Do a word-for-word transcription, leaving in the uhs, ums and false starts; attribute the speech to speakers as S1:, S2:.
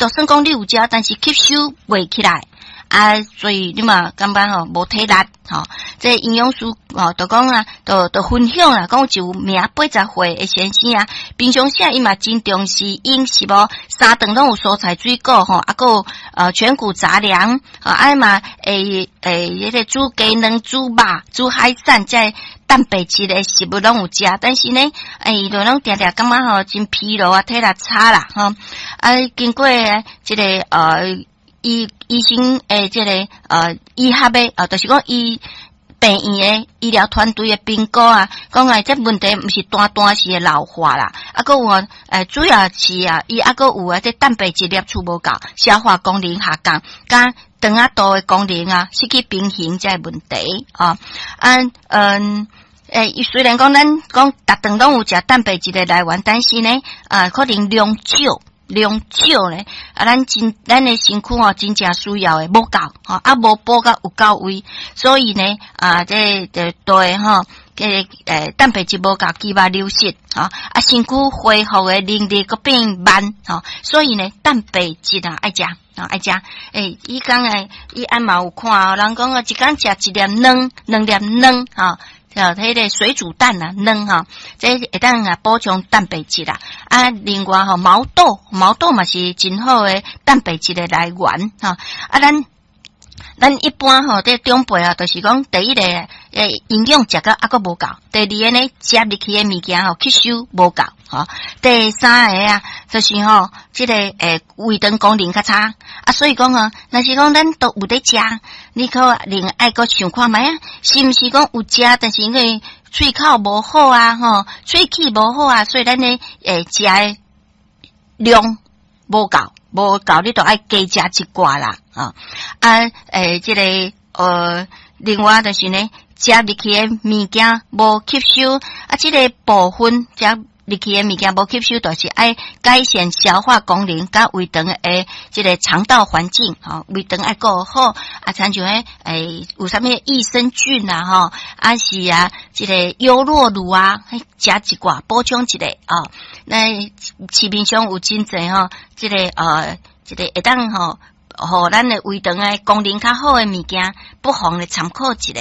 S1: 就算講你有食，但是吸收袂起來。啊，所以你嘛感覺吼無體力吼。這營養師吼就講啊，就就分享啦，講有一名八十歲的先生啊，平常時伊嘛真重視飲食哦，三頓攏有蔬菜水果吼，啊閣有呃全穀雜糧，啊嘛會會彼個煮雞卵、煮肉、煮海產，這蛋白質的食物攏有食，但是呢，欸伊就攏定定感覺吼真疲勞啊，體力差啦吼。啊，經過這个呃。醫醫生的這个呃醫學的，呃，就是講醫病院的醫療團隊的評估啊，講啊，這問題毋是單單是老化啦，啊，閣有呃，主要是啊，伊啊閣有啊，這蛋白質攝取無夠，消化功能下降，佮腸仔道的功能啊失去平衡這個問題啊，啊嗯。欸，雖然講咱講逐頓攏有食蛋白質的來源，但是呢，啊，可能量少。量少咧，啊，咱真咱的身軀吼，真正需要的無夠，吼，啊，無補甲有夠位，所以呢，啊，這個對吼，這個欸蛋白質無夠，肌肉流失，吼，啊，身軀恢復的能力閣變慢，吼，所以呢，蛋白質啊愛食，啊愛食，欸，伊講的伊按嘛有看哦，人講啊，一工食一粒卵，兩粒卵，吼。哦，彼个水煮蛋啊，卵吼，這會當啊補充蛋白質啦。啊，另外吼，毛豆，毛豆嘛是真好的蛋白質的來源吼。啊，咱咱一般吼，這長輩啊，就是講第一個欸營養食甲猶閣無夠，第二个呢，食入去的物件吼吸收無夠，吼。第三个啊，就是吼，這个欸胃腸功能較差啊，所以講啊，若是講咱都有咧食，你可能愛閣想看覓啊，是毋是講有食，但是因為喙口無好啊，吼，喙齒無好啊，所以咱咧欸食的量無夠，無夠，你就愛加食一寡啦，啊啊欸，這个呃，另外就是呢，食入去的物件無吸收，啊，這个部分食入去的物件無吸收，就是愛改善消化功能，佮胃腸的這个腸道環境，吼，胃腸愛顧好，啊，親像彼欸有啥物益生菌啊，吼，啊是啊，這个優酪乳啊，食一寡補充一下啊。那市面上有真濟吼，這个呃，這个會當吼，予咱的胃腸的功能較好的物件，不妨來參考一下。